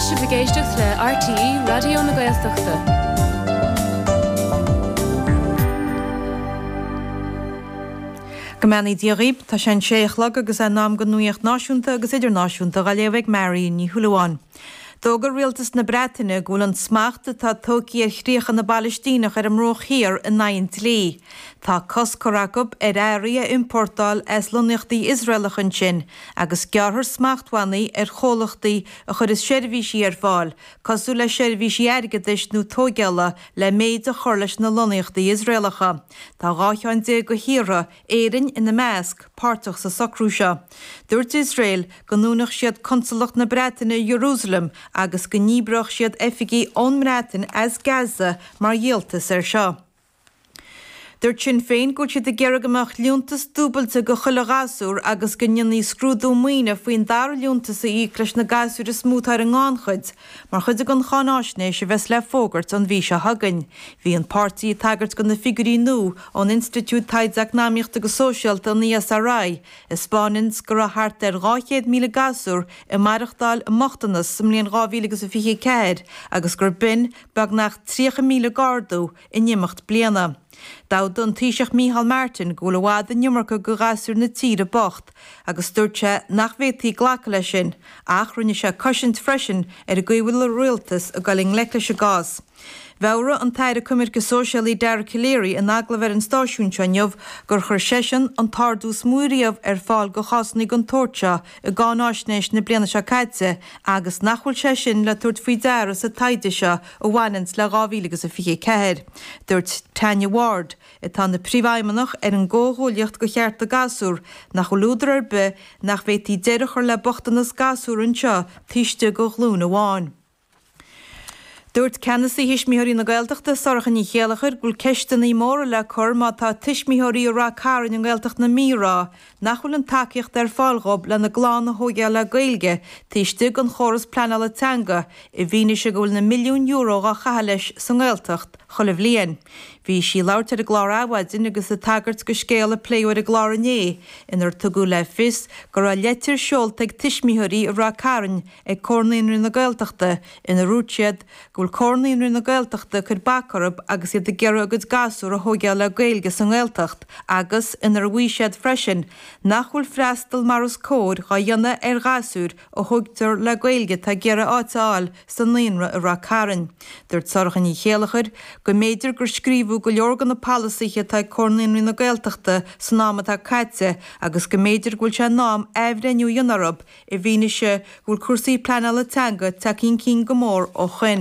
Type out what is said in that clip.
sibh ag éisteacht le RTÉ Raidió na Gaeltachta. Go mbeannaí Dia dhaoib, tá sé an sé a chlog agus é in am don nuaíocht náisiúnta agus idirnáisiúnta dhá léamh ag Marion Ní Shúilleabháin. D'fhógair rialtas na Breataine go bhfuil an smacht atá tógtha ar chríocha na bPalaistíneach ar an mBruach Thiar in aghaidh an dlí. Tá cosc curtha acu ar earraí a iompórtáil as lonnaíochtaí Iosraelacha ansin agus gearrfar smachtbhannaí ar chomhlachtaí a chuireas seirbhísí ar fáil, cosúil le seirbhísí airgeadais nó tóigeála, le méid a chur leis na lonnaíochtaí Iosraelacha. Tá 12 cheann de thíortha, Éirinn ina measc, páirteach sa socrú seo. Dúirt Iosrael go ndúnfadh siad consalacht na Breataine i Jerusalem agus go ndíbreodh siad oifigigh ón mBreatain as Gaza mar dhíoltas air seo. Dúirt Sinn Féin go bhfuil siad ag iarraidh go mbeadh liúntas dúbailte go chuile ghasúr agus go ndéanfaí scrúdú maoine faoin dara liúntas a íoc leis na gasúir is mó atá ar an ngannchuid mar chuid den cháináisnéis a bheas le fógairt an mhí seo chugainn. Bhí an páirtí ag tagairt do na figiúirí nua ón Institiúid Taighde Eacnamaíochta agus Sóisialta, an ESRI, a 'spáineanns go raibh thart ar 200,000 gasúr ag maireachtáil i mbochtanas sa mbliain 2024 agus gur b'in beagnach 30,000 d'ardú in imeacht bliana. D'admhaigh an Taoiseach Micheál Martin go bhfuil i bhfad an iomarca de ghasúir na tíre bocht agus dúirt sé nach bhféadfaí glacadh leis sin ach rinne sé cosaint freisin ar an gcaoi a bhfuil an rialtas ag dul i ngleic leis an gcás. Mheabhraigh an tAire Coimirce Sóisialaí Dara Calleary in agallamh ar an stáisiún seo inniu gur chuir seisean an t-ardú is mó riamh ar fáil do chásanna den tsórt seo i gcáináisnéis na bliana seo caite agus nach bhfuil sé sin le tabhairt faoi deara sa taighde seo a bhaineanns le 2024. Dúirt Tanya Ward, atá ina príomhfheidhmeannach ar an gComhghuaillíocht do Chearta Gasúr, nach bhfuil údar ar bith nach bhféadfaí deireadh a chur le bochtanas gasúr anseo taobh istigh de ghlúin amháin. Dúirt Ceannasaí Thuismitheoirí na Gaeltachta, Sorcha Ní Chéilleachair, go bhfuil ceisteanna móra le cur má tá tuismitheoirí i Rath Cairn i nGaeltacht na Mí ag rá nach bhfuil an tacaíocht ar fáil dhób lena gclann a thóigeáil le Gaeilge taobh istigh den chóras pleanála teanga i bhfianaise go bhfuil na milliúin euro dhá chaitheamh leis sa nGaeltacht chuile bhliain. Bhí sí ag labhairt ar an gclár Adhmhaidin agus ag tagairt go scéal a pléadh ar an gclár inné inar tugadh le fios go raibh leitir seolta ag tuismitheoirí i Rath Cairn ag Comhar Naíonraí na Gaeltachta ina ndúirt siad go bhfuil Comhar Naíonraí na Gaeltachta ag cur bac orthu agus iad ag iarraidh a gcuid gasúr a thóigeáil le Gaeilge sa nGaeltacht agus inar mhaígh siad freisin nach bhfuil freastal mar is cóir dhá dhéanamh ar ghasúir a thógtar le Gaeilge atá ag iarraidh áit a fháil sa naíonra i Rath Cairn. Dúirt Sorcha Ní Chéilleachair go mb'fhéidir gur scríobhadh go leor de na polasaithe atá ag Comhar Naíonraí na Gaeltachta san am atá caite agus go mb'fhéidir go bhfuil sé in am athbhreithniú a dhéanamh orthu i bhfianaise go bhfuil cúrsaí pleanála teanga tagtha chun cinn go mór ó shoin.